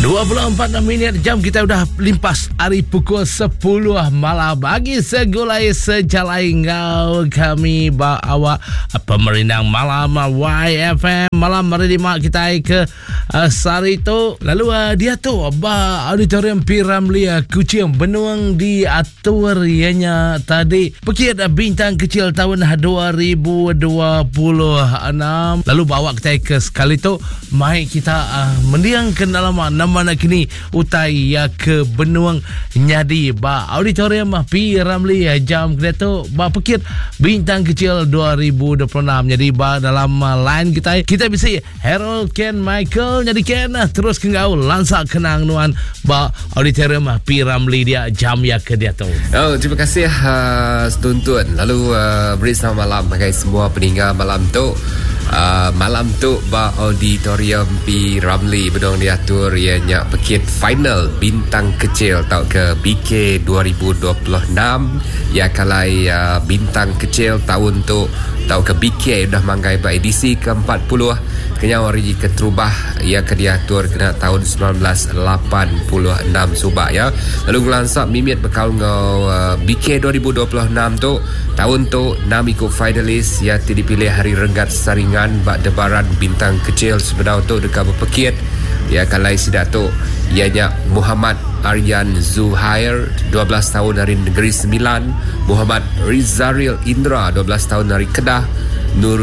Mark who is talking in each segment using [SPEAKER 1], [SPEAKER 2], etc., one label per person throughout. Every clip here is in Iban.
[SPEAKER 1] 24 minit jam kita udah limpas hari pukul 10 malam bagi segulai sejalai ngau kami ba awak pemerindang malam YFM malam hari lima kita ke uh, sehari tu lalu uh, dia tu ba auditorium P Ramlee uh, Kuching benung diatur ianya tadi pekit bintang kecil tahun 2026 lalu bawa kita ke sekali tu Mai kita uh, mendiang ke dalam nama nak kini utai ya ke benuang nyadi ba auditorium P Ramlee eh, jam kena tu ba pekit bintang kecil 2026 jadi ba dalam uh, line kita kita bisi Harold Ken Michael jadi Ken uh, terus ke ngau lansak kenang nuan ba auditorium P Ramlee dia jam ya ke dia tu.
[SPEAKER 2] Oh, terima kasih uh, setuntun lalu uh, beri selamat malam bagi semua peninggal malam tu. Uh, malam tu ba Auditorium P. Ramlee bedong diatur iya nya pekit final Bintang Kecil tauka BK 2026 iya kalai uh, Bintang Kecil taun tu tauka BK udah manggai ba edisi ke 40 kenyau ari keterubah iya ke diatur kena taun 1986 suba ya. Lalu ngelansa mimit bekaul enggau uh, BK 2026 tu Taun tu, enam iku finalis iya ti dipilih ari renggat saringan ba Debaran Bintang Kecil sebedau tu deka bepekit. Iya ke alai sida tu iya nya Muhammad Aryan Zuhair, 12 taun ari Negeri Sembilan, Muhammad Rizaril Indra, 12 taun ari Kedah, Nur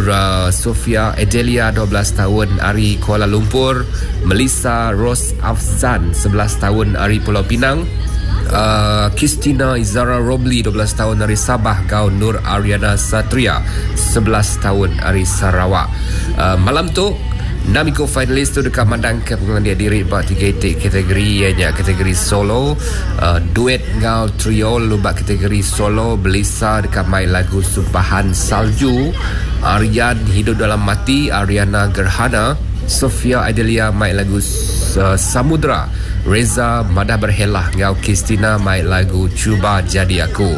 [SPEAKER 2] Sofia Adelia, 12 taun ari Kuala Lumpur, Melissa Rose Afzan, 11 taun ari Pulau Pinang, Christina Izara Romli, 12 taun ari Sabah enggau Nur Ariana Satria, 11 taun ari Sarawak. Malam tu, enam iku finalis tu deka mandangka pengelandik diri ba tiga iti kategori iya nya kategori solo, duet enggau trio lalu ba kategori solo Belisa deka mai lagu Sumpahan Salju, Aryan Hidup Dalam Mati, Ariana Gerhana, Sofia Adelia mai lagu Samudra, Reza madah berhelah enggau Christina mai lagu Cuba Jadi Aku.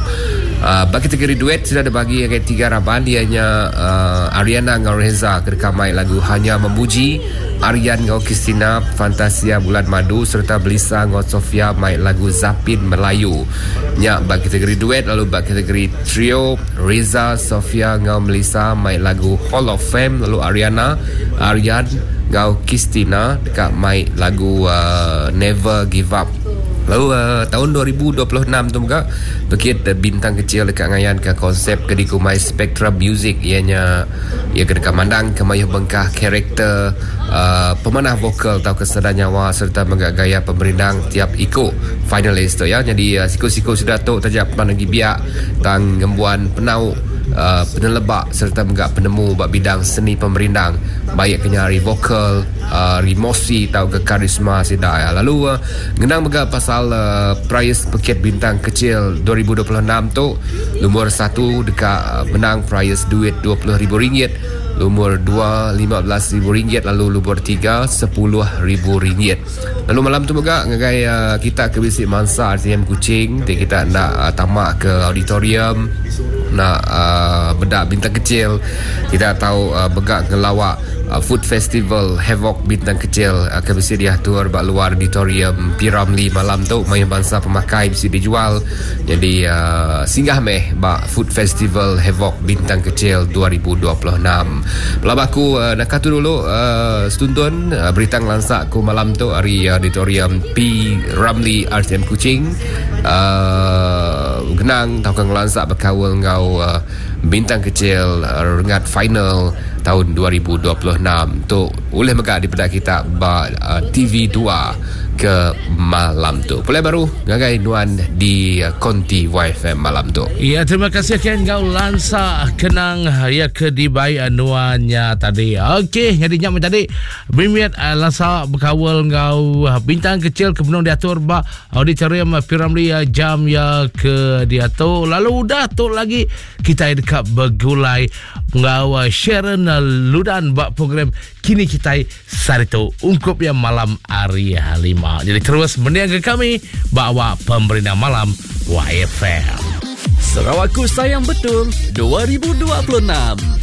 [SPEAKER 2] Uh, ba kategori duet sudah dibagi ngagai tiga raban iya nya uh, Ariana enggau Reza ke deka mai lagu Hanya Memuji, Aryan enggau Christina Fantasia Bulan Madu sereta Belisa enggau Sofia mai lagu Zapin Melayu. Nya ba kategori duet lalu ba kategori trio Reza, Sofia enggau Melissa mai lagu Hall of Fame lalu Ariana, Aryan enggau Qistina deka mai lagu Never Give Up. Lalu taun 2026 tu mega pekit Bintang Kecil deka ngayanka konsep ke dikumbai Spectra Music iya nya iya ke deka mandangka mayuh bengkah karakter pemanah vokal tauka sada nyawa sereta mega gaya pemerindang tiap iku finalis tu ya. Nyadi siku-siku sida tu taja pan agi biak tang ngembuan penau peneleba sereta mega penemu ba bidang seni pemerindang baik ke nya ari vokal, ari emosi tauka karisma sida iya. Lalu ngenang mega pasal Prais Pekit Bintang Kecil 2026 tu, lumur satu deka menang prais duit RM20,000, lumur dua RM15,000 lalu lumur tiga RM10,000. Lalu malam tu mega ngagai kita ke bisi mansa RTM Kuching ti kita enda tama ke auditorium enda meda bintang kecil kita tau mega ngelawa food festival Havoc Bintang Kecil ke bisi diatur ba luar auditorium P Ramlee malam tu mayuh bansa pemakai bisi dijual nyadi singgah meh ba food festival Havoc Bintang Kecil 2026. Pelaba aku naka tu dulu setuntun berita ngelansa aku malam tu ari auditorium P Ramlee RTM Kuching genang tauka ngelansa bekaul enggau bintang kecil renggat final taun 2026 tu ulih mega dipeda kita ba TV 2 ke malam tu. Pulai baru ngagai nuan di Konti YFM malam tu.
[SPEAKER 1] Ya, terima kasih Ken enggau lansa kenang ya ke dibai nuan nya tadi. Okey, jadi nya tadi bimit eh, lansa berkawal enggau eh, bintang kecil ke benung diatur ba auditorium Piramli eh, jam ya ke diatu. Lalu udah tu lagi kita deka bergulai enggau Sharon Ludan ba program Kini Kitai Sehari tu ungkup iya malam hari lima. Jadi terus mending ke kami ba awak pemerindang malam YFM.
[SPEAKER 3] Sarawakku Sayang Betung 2026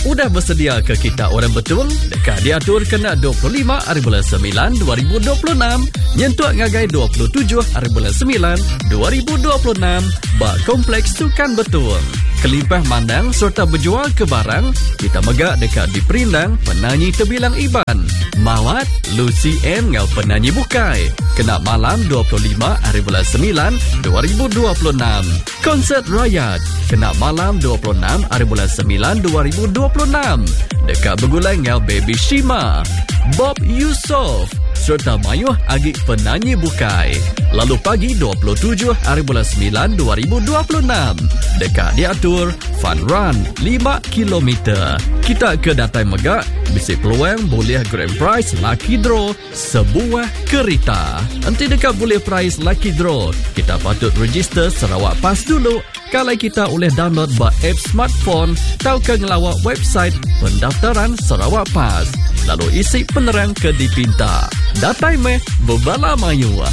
[SPEAKER 3] udah besedia ke kita orang Betung deka diatur kena 25 hari bulan 9 2026 nyentuk ngagai 27 hari bulan 9 2026 ba Kompleks Sukan Betung. Kelimpah mandang sereta bejual ke barang, kita mega deka diperindang penanyi tebilang Iban, Mawat, Lucy Ann enggau penanyi bukai kena malam 25 hari bulan 9 2026. Konsert Rayat kena malam 26 hari bulan 9 2026 deka begulai enggau Baby Shima, Bob Yusof sereta mayuh agi penanyi bukai. Lalu pagi 27 hari bulan 9 2026 deka diatur Fun Run 5 kilometer. Kita ke datai mega bisi peluang bulih grand prize lucky draw sebuah kerita. Enti deka bulih prize lucky draw, kita patut register Sarawak Pass dulu. Kalai kita ulih download ba app smartphone tauka ngelawa website pendaftaran Sarawak Pass. Lalu isi penerang ke dipinta. Datai meh bebala mayuh.